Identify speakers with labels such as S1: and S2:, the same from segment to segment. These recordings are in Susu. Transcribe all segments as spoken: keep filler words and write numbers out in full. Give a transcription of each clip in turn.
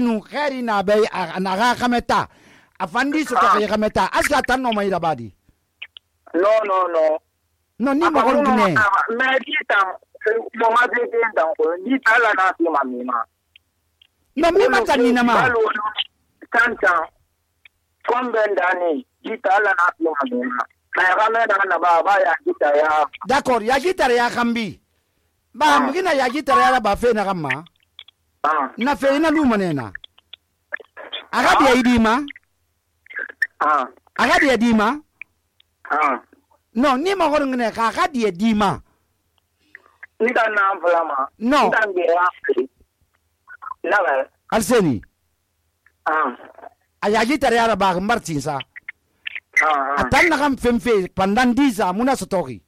S1: nu khairi na bai na ga kameta afandi so to ga kameta aska tan no mai rabadi
S2: no no no
S1: no ni ma gon ne
S2: me kita mo ma de de dan ko ni tala na ti ma mi ma
S1: no mi ma tan ni na ma
S2: tanta kombe ndani ni tala na ti ma mi ma na ga me da na ba ba ya kita ya
S1: d'accord ya kita ya kambi ba mugina ya kita ya ba fe na gamma
S2: ah
S1: na fe na lu manena aga dia idima
S2: ah
S1: aga dia dima
S2: ah
S1: no ni ma gon ne ka aga dia dima
S2: ni dan na amflama
S1: no
S2: ni dan be ya na ba
S1: alseni
S2: ah
S1: aya kita ya ba martin sa
S2: ah
S1: atan na kam femfe pandan diza muna sotoki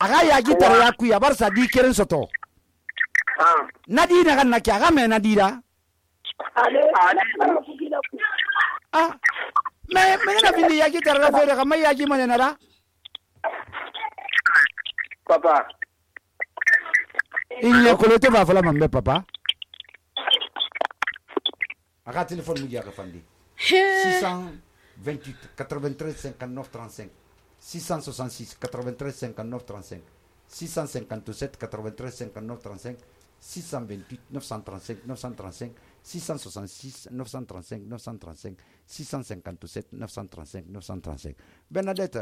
S1: aga ya kita ya ku ya barsa di keren soto
S2: ah
S1: nadi na kan na kya ga me nadi da
S2: ale ale
S1: ah me me na bindi ya kita ra fere ga mai ya ki mane na da
S2: papa
S1: il ne kolote ba fala mambe papa aga téléphone mu ya ga fandi six cent vingt-huit quatre-vingt-treize cinquante-neuf trente-cinq six cent soixante-six quatre-vingt-treize cinquante-neuf trente-cinq six cent cinquante-sept quatre-vingt-treize cinquante-neuf trente-cinq six cent vingt-huit neuf cent trente-cinq neuf cent trente-cinq six cent soixante-six neuf cent trente-cinq neuf cent trente-cinq six cent cinquante-sept neuf cent trente-cinq neuf cent trente-cinq Bernadette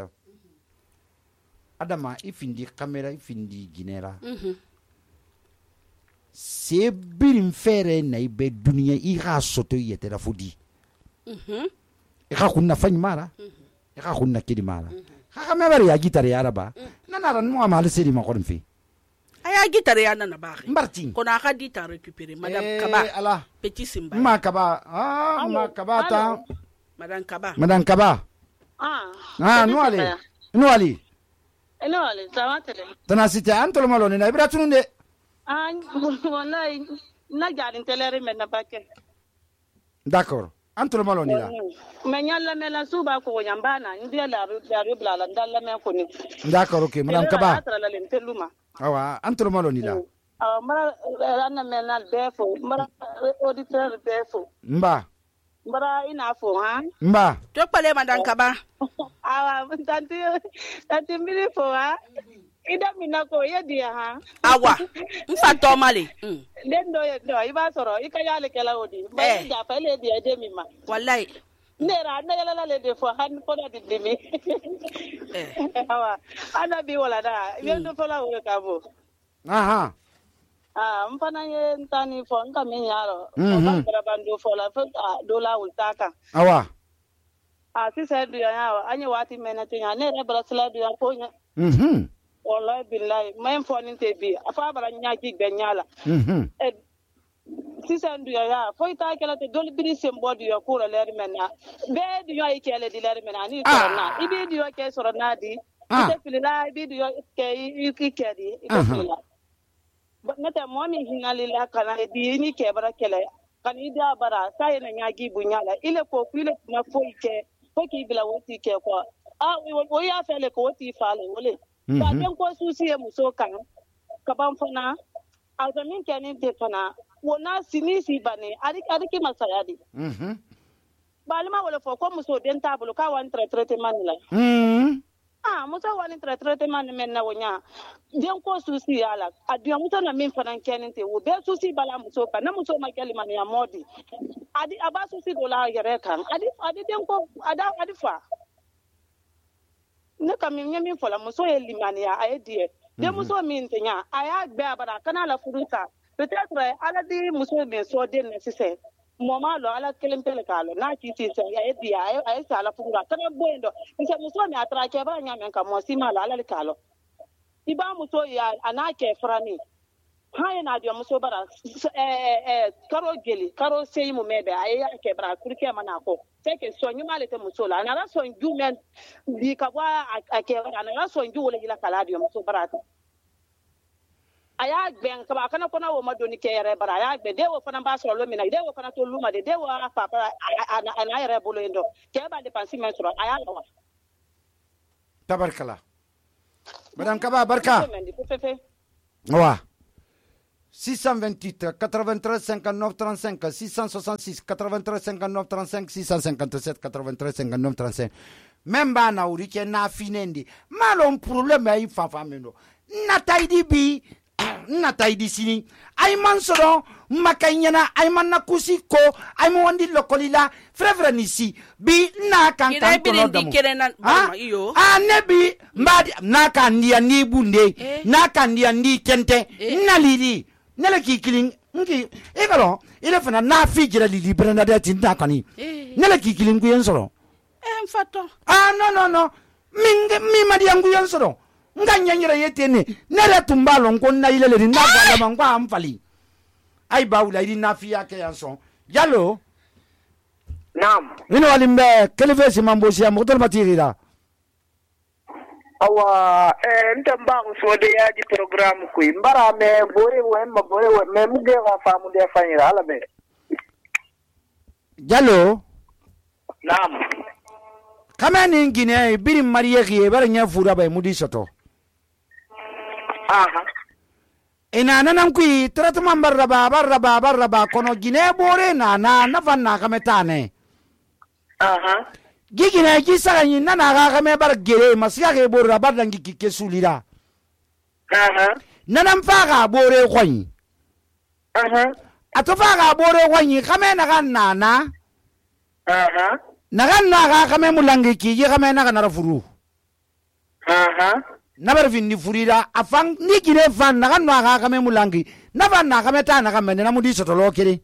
S1: adama ifindi kamera ifindi ginera se birin fere na ibe duniya i ga soto yete da fudi i ga kunna fanyi mara i ga kunna kidi mara ha ga me bari ya gitare ya raba nana ran mu amal seri ma korin fi
S3: aya gitare ya nana ba
S1: Martin
S3: ko na ka dita récupérer madame
S1: eh,
S3: Kaba
S1: ala
S3: petit simba
S1: ma Kaba ah ma Kaba ta
S3: madame Kaba
S1: madame Kaba
S4: ah
S1: ah no ale no ali
S4: no ale zawatele
S1: tana site antolo malo ne na ibra tununde
S4: ah wallahi na jarin telere men na bakke
S1: d'accord antolo malo ni la
S4: me nyalla me la suba ko nyambana ndiya la la bla ndalla me ko ni
S1: d'accord OK madame Kaba
S4: la len teluma
S1: awa antolo malo ni la
S4: ah mara ranna me na befo mara auditeur befo
S1: mba
S4: mara ina fo ha
S1: mba
S3: to pale madame Kaba
S4: awa tanti tanti miri fo ha ida mina ko yedi ha
S3: awa mfa to male
S4: den do do iba soro ikayale kala odi ba ja fele di ede mi ma
S3: wallahi
S4: nera na yala le de fo han ko da dimi eh awa ana bi wala da bien do fola wo ka bo
S1: aha
S4: ah mpana ye ntani fo nka mi yaro
S1: Mhm.
S4: ba bandu fola fo do la ultaka
S1: awa
S4: ah si se du ya anye wati mena tinya nera brasla du ya ko nya
S1: mhm
S4: wallahi billahi mayin fo ni te bi afa bara nya ki gbenyala
S1: mhm
S4: eh sisan du ya fo ita kala te dol biri sembo du ya ko ler mena be du ya ikele di ler mena ni
S1: Ah.
S4: sorona ibi du ya ke sorona di
S1: Ah.
S4: ite filila ibi du ya ke ikeli ite
S1: Aha.
S4: filila nata mo mi hinali la kana di ni ke bara kele kan ida bara sai na nyagi bunyala ile ko kuile na fo ike ko ki bila woti ke ko ah wo ya fele ko woti fale wole ba
S1: Mhm.
S4: den ko susi e muso kan ka ban fana alzamin kenin te fana wona sinisi bane ari ari ki masayadi
S1: mhm
S4: balima wala fo ko muso den tabulu ka wan tra traitement la
S1: mhm
S4: ah muso wan tra traitement men na wonya den ko susi ala adiya muso na min fana kenin te wo be susi bala muso kan na muso ma kelima ya modi adi aba susi do la yere kan adi adi den ko ada adi fa ne kam min min fola muso ye limani ya ay die de muso min tenya aya gbe abara kana la furuta peut-être ala di muso min so de ne sise moma lo ala kelen pele kalo na ki ti se ya di ay ay sala furura kana boendo nse muso mi atra ke ba nya men ka mo si mala ala kalo iba muso ya anake frani haye na dio muso bara eh eh karo geli karo sei mu mebe ay ke bara kurke mana ko take so nyuma le te muso la na so nju men bi ka wa ake na so nju wala ila kala dio muso bara aya gben ka ba kana kona wo madoni ke yere bara aya gbe de wo fana ba so lo mina de wo fana to luma de de wo papa ana ana yere bolo endo ke ba de pansi men so aya lawa
S1: tabarkala madame Kaba barka wa six cent vingt-huit quatre-vingt-treize cinquante-neuf trente-cinq six cent soixante-six quatre-vingt-treize cinquante-neuf trente-cinq six cent cinquante-sept quatre-vingt-treize cinquante-neuf trente-cinq même ba na uri ke na finendi malon problème ay fafa meno na taydi bi na taydi sini ay man soro makanyana ay man na kusiko ay mo wandi lokolila frère nisi bi na kan kan to no damo ah ah nebi mbadi na kan dia ni bunde eh. na kan dia ni kente eh. na lili nele ki killing ngi e galo ile fana na fi jira lili bernadette na kani eh. nele ki killing ku yen soro
S3: eh mfato
S1: ah no no no minge mi madi yangu yen soro nga nyanyira yetene nere tumbalo nkonna ile le na bala mangwa amfali ay bawla idi na fi yake yanson yalo
S2: naam
S1: ino walimbe keleve si mambo si amotol matirira
S2: awa eh ntamba so de ya di programme ku mbara me bore wo ma bore wo me muge wa famu de fanyira ala be
S1: yalo
S2: naam
S1: kamani ngine biri mariye ki bare nya fura bay mudi soto
S2: aha
S1: ina nanan ku tratman barraba barraba barraba kono gine bore na na na fanna kametane
S2: aha
S1: gigine ki saganyi nana ga kame bar gere masiya ke borra bardangi kike sulira
S2: aha
S1: nanan faga bore koyi
S2: aha
S1: atofa ga bore koyi kame na kan nana
S2: aha
S1: nagan na ga kame mulangi ki ye kame na kana furu
S2: aha
S1: nabar finni furira afan ni gine fan nagan na ga kame mulangi na fan na kame ta na kame na mudi sotolo kire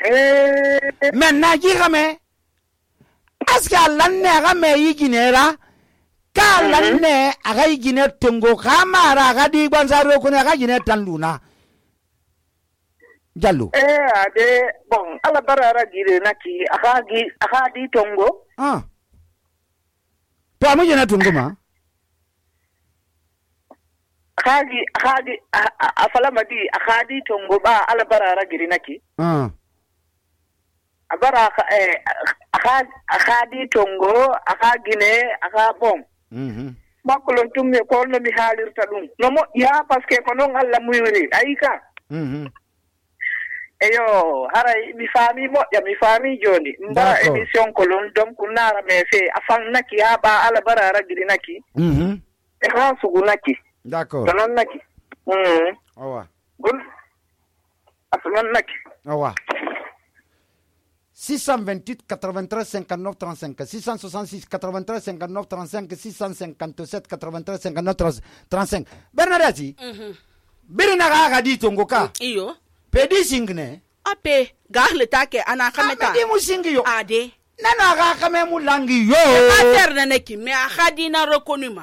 S2: eh
S1: men na gi kame aska lanne ga me yi ginera ka lanne aga yi gine tengo kamara ga di gbansaro ko ne ga gine tanluna jallo
S2: eh ade bon ala barara gire naki akagi akadi tongo
S1: ah to amu jena tungo ma
S2: akagi akagi afala madi akadi tongo ba ala barara gire naki
S1: ah
S2: abara eh akadi akadi tongo akagine akabom
S1: mhm
S2: makulon tumme ko no mi halirta dum no mo ya parce que ko non alla muyuri ayika
S1: mhm
S2: eyo haray mi fami mo ya mi fami joni mbara emission ko lon dom kunara me fe afan naki aba ala barara gidi naki
S1: mhm
S2: e ha sugu naki
S1: d'accord
S2: non naki mhm
S1: awa
S2: gun afan naki
S1: awa six cent vingt-huit quatre-vingt-treize cinquante-neuf trente-cinq six cent soixante-six quatre-vingt-treize cinquante-neuf trente-cinq six cent cinquante-sept quatre-vingt-treize cinquante-neuf trente-cinq Bernadette mhm birina ga ga di tongo ka
S3: iyo
S1: pedi singne
S3: ape gahle take ana kameta
S1: adi musingi yo
S3: ade
S1: nana ga kame mulangi yo
S3: mater naneki me akhadina reconnu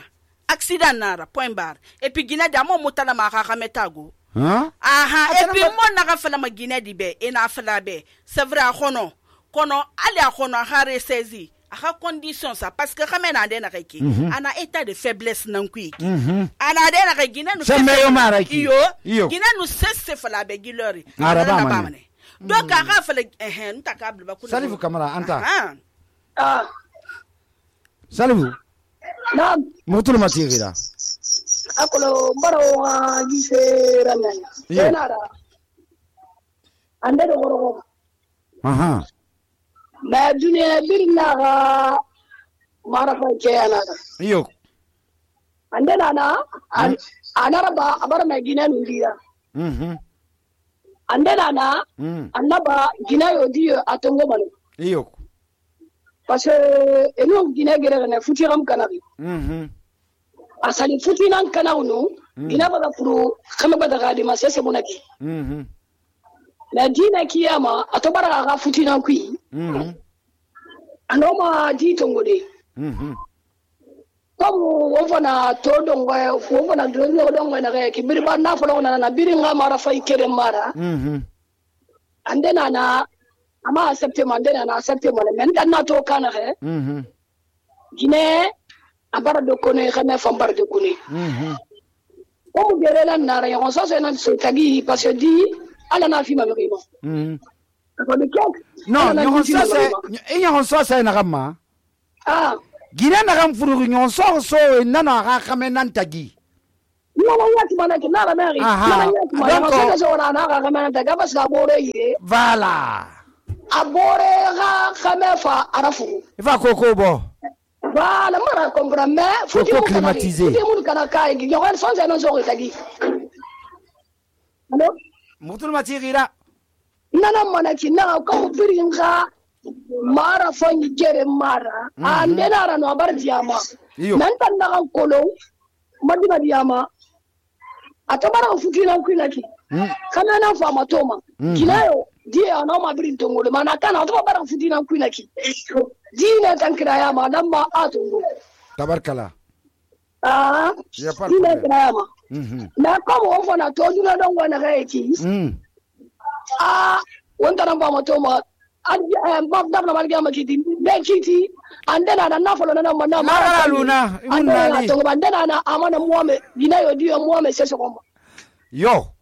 S3: accident nara point bar et puis gina damo mutala ma ga kameta go
S1: hein
S3: aha et puis mon na ga fala ma gina dibe ina fala be c'est vrai khono kono ali khono hare saisi a condition ça parce que quand na dena kaki ana état de faiblesse nan kuiki ana dena kaki gina no
S1: semeyo maraki
S3: yo gina no sesse fala be gilori
S1: araba mane
S3: donc a ga fala eh nta kabla ba kuna
S1: salifu kamara anta
S2: ah
S1: salifu
S2: na
S1: mutul matigira
S2: akolo mbaro wa gise rananya yenara ande do goro
S1: aha
S2: na dunia birna ga marafa ke anada
S1: iyo
S2: ande nana anara ba abar me gina nundira
S1: mhm
S2: ande nana annaba gina yodiyo atongo manu
S1: iyo
S2: parce que eno gina gere na futiram kanabi
S1: mhm
S2: asali futinan kanawnu gina ba furu kama ba daga di masese munaki
S1: mhm
S2: na dina kiyama atobara ga futinan kui
S1: mhm
S2: anoma di tongode
S1: mhm
S2: comme wofana to dongo wofana dongo dongo na ga kibiri ba na folo na na biri nga mara fay kere mara
S1: mhm
S2: ande na na ama accepter mande na na accepter mande men dan na to kana he
S1: mhm
S2: gine abara do kone xame fam bar de kone
S1: mhm
S2: o gere la na ra yon so se na so tagi parce que di ala na fi ma me mo
S1: mhm
S2: ko de kek
S1: non nyon so se nyon so se na kama
S2: ah
S1: gina na kam furu nyon so so nana ga kame nan tagi Voilà.
S5: Abore ga khamefa arafu.
S1: Va koko bo.
S5: Voilà, mara comprendre mais faut
S1: climatiser.
S5: Faut mun kana kai gi yogan son non so tagi. Allo?
S1: Mutul matirira.
S5: Nana manaki na ko firinga mara fanyi kere mara. Ande na ra no bar diama. Nan tan na kolo madina diama. Atabara futina kwinaki. Kana na fa matoma. Kinayo dia na ma birin tongole mana kana to bara futina kwinaki. Dina tankira ya ma nan ma atungo.
S1: Tabarkala.
S5: Ah.
S1: Ya par.
S5: Dina tankira ma. Mhm. Na ko mo fo na to duna don wana ga yaki. Mhm. Ah, wanda nan ba matoma. An ba da na malga makiti. Ben kiti andena na na folo na na na
S1: ma luna
S5: andena to bandena na amana muame dinayo dio muame seso komba.
S1: Yo.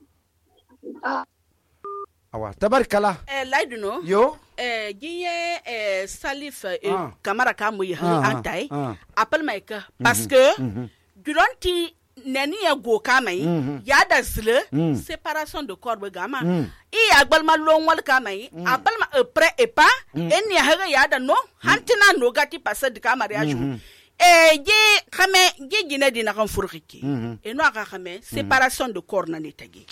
S5: Ah.
S1: Awa tabarkala.
S3: Eh laiduno.
S1: Yo.
S3: Eh giye eh Salif eh, ah. Kamara kamu ya ah, antai. Ah. Appel maika parce que duranti neni ya go kamai ya da zle séparation de corps gama. I agbal ma lo wal kamai appel ma près et pas en ya haga ya da no hantina no gati passe de kamara ya ju. Eh gi khame gi gine dina kan furiki. E no aka khame séparation de corps na ne tagi.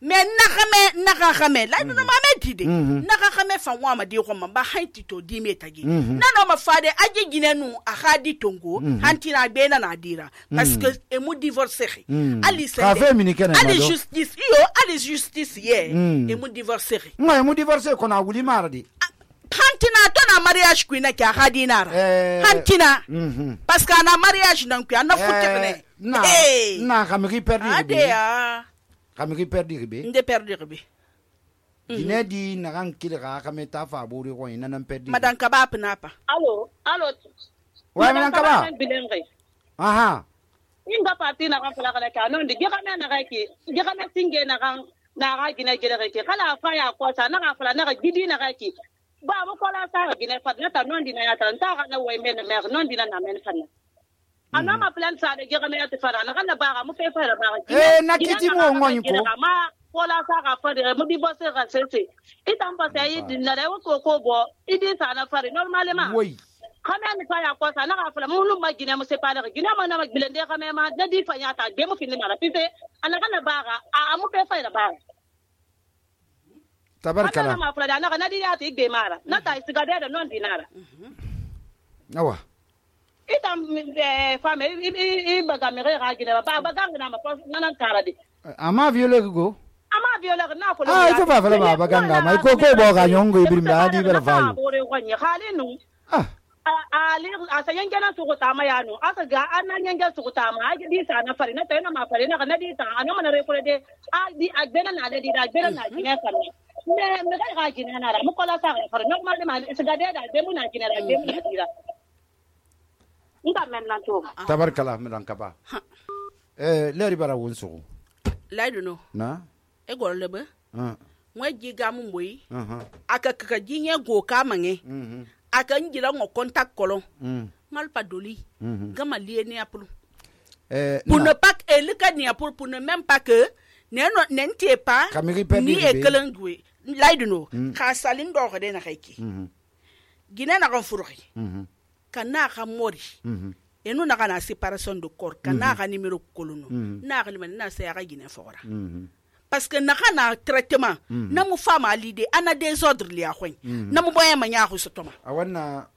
S3: Mais nakame nakame la no ma metide nakame fa wa ma di ko ma ba hanti to di metagi na no ma fade aje ginenu a khadi tongo hantina be na nadira parce que e mu divorcer ali se ali justice yo ali justice ye e mu divorcer
S1: ma e mu divorcer ko na wuli maradi
S3: hantina to na mariage ku na ka khadi nara hantina parce que na mariage nan ku na futte
S1: na na kamri perdi
S3: ade ya
S1: kamigi perdi ribe
S3: nde perdi ribe
S1: dine di nagan kilga kameta fa buri ko ina nan perdi
S3: madan kaba pnapa
S4: allo allo
S1: wa madan kaba aha
S4: inga parti na kan fala kala ka non de gega na ga ki gega na singe na kan na ga gina gele ki kala fa ya ko sa na ga fala na ga gidi na ga ki ba mo ko la sa ga gina fa na ta non di na ya ta ta ga na way men mer non di na na men fa ana ma plan sa de gega na ya fara na kana ba ga mu fe fara ba ga
S1: eh na kiti mo ngon ko
S4: ma wala sa ga fa de mu di bo se ga se se itam pa sai di na re ko ko bo idi sa na fara normalement
S1: oui
S4: kana ni fa ya ko sa na ga fa mu lu ma gina mu se pa de gina ma na ma bilende ga me ma na di fa ya ta be mu fin na pipe ana kana ba ga a mu fe fara ba
S1: tabarkala
S4: ana ma fa da na na di ya ti be mara na ta isiga de non dinara
S1: awa
S4: itam femme i baga mere ga gina ba baga ngana ma nana karade
S1: ama viole go
S4: ama viole na ko
S1: ah ito fa fa ba baga ngama ko ko bo ga nyongo ibrim da di bela fa
S4: bore ko ni khalinu
S1: ah
S4: ali asa yengena su ko tama yanu asa ga anan yenga su ko tama agi di sa na fari na tayna ma fari na na di ta ana mana re ko de a di agbena na de di agbena na gina fa ne me ga gina na ra mo ko la sa fari normal de ma se ga de da de mu na gina ra de mu na dira nda men nan to
S1: tabarkala medan kaba eh leri bara wonso
S3: laiduno
S1: na
S3: e gol lebe
S1: ah
S3: mwe giga mu moyi
S1: aha
S3: aka kaka jinye go ka mange
S1: mhm
S3: aka ngira ngo contact kolon
S1: mhm
S3: mal pa doli
S1: mhm
S3: gama lié ni apulu
S1: eh
S3: pour ne pas que le cas ni apulu pour ne même pas que ne no n'entie pas ni e kelengwe laiduno ka salin do de na kaiki
S1: mhm
S3: gina na kan furuki
S1: mhm
S3: kana ka mori
S1: mhm
S3: enu na kana séparation de corps kana ka numéro kolono na ka limana na sa ya gina fora
S1: mhm
S3: parce que na kana traitement na mu fama alide ana désordre li akhwen na mu boye manya khu sotoma
S1: awanna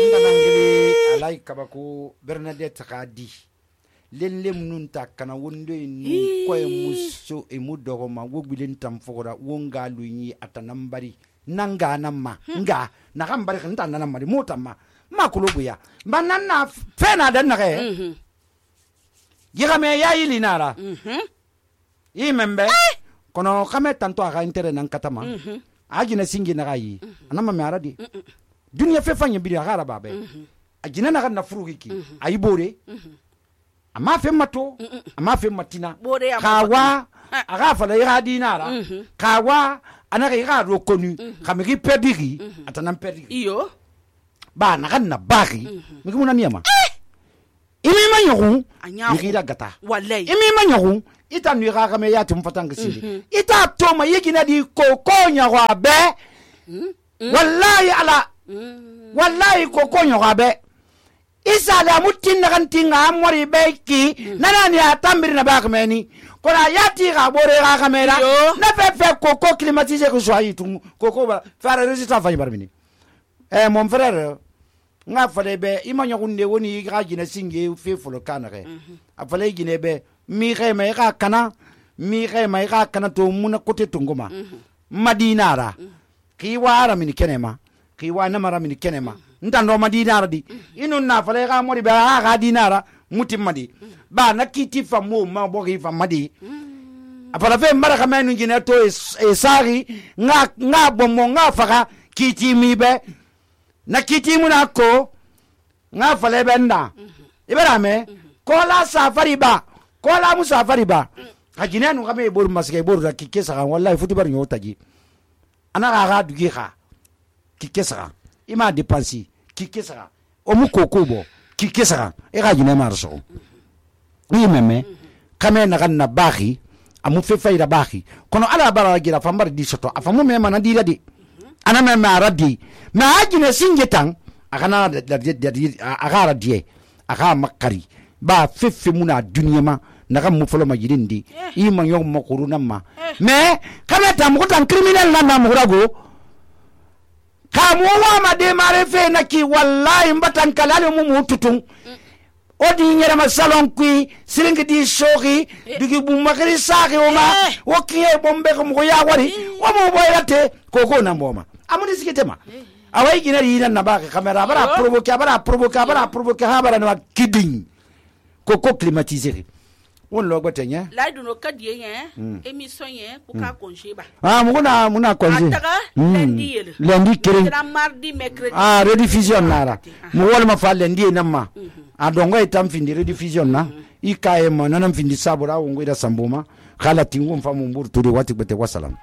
S1: ndana ngili alay kabako Bernadette Khadi lellem nun ta kana wondo ni ko e muso e mudogo ma wogbilen tam fora wonga luyi atanambari nanga namma nga na gambari kan tan namma motama makulubu ya banana fena dan nake mhm yigame ya yilinara mhm imembe kono kame tanto aga intere nan katama ajina singi na gayi anama me aradi dunya fe fanya biri agara babe ajina na na furuki ayibore ama fe mato ama fe matina kawa aga fala ya dinara kawa ana ga ro konu kamigi perdiri atanam perdiri
S3: iyo
S1: ba na kan na baki miki muna niyama imi ma nyagu yigira gata
S3: wallahi
S1: imi ma nyagu ita nu ga ga me ya tum fatanga sili ita to ma yigina di koko nyago abe wallahi ala wallahi koko nyago abe isa da mutin na kan tinga amori beki nana ni atambiri na ba kameni kora yati ga bore ga kamera na fe fe koko climatisé ko soyi tum koko ba fara résultat fa barbini eh mon frère nga fale be imanyo kunde woni ga gina singe fe folo kana ke afale gine be mi xe mai ga kana mi xe mai ga kana to muna kote tunguma madinara ki wara min kenema ki wa na mara min kenema ndando madinara di inu na fale ga mori be ha ga dinara mutim madi ba na kiti fa mo ma bo gi fa madi afala fe mara ka menu gine to e sari nga nga bomo nga faga kiti mi be na kiti muna ko nga fale benda ibara me ko la safari ba ko la mu safari ba hajine nu kame bor maske bor da kike saka wallahi futi bar nyo taji ana ga ga dugi kha kike saka ima depensi kike saka o mu kokobo kike saka e ga jine marso ni meme kame na kan na bahi amu fe fayda bahi kono ala bara gira fambar di soto afamu me mana di ladi ana me ma radi ma hajine singetan akana da agara die aga makari ba fefe muna dunya ma naga mu folo ma yirindi i ma yong ma kuruna ma me kama ta mu tan criminal na na mu rago ka mu wa ma de mare fe na ki wallahi mbatan kalale mu mu tutun odi nyere ma salon kui silingi di shogi digi bu makari saki o ma o kiye bombe ko mu ya wari o mu boyate koko na mboma amuni sikitema awai gina yina na ba kamera bara provoquer bara provoquer bara provoquer ha bara na kidding koko climatisé on lo gotenya
S3: la du no kadie yen émission yen ko ka congé ba
S1: ah muna muna congé
S3: lundi yele
S1: lundi kiri
S3: mardi mercredi
S1: ah rediffusion nara mu wol ma fa lundi namma a dongo itam findi rediffusion na ikaye mo nanam findi sabura wongo ida sambuma khala tingu mfamu mburu turi wati bete wasalam.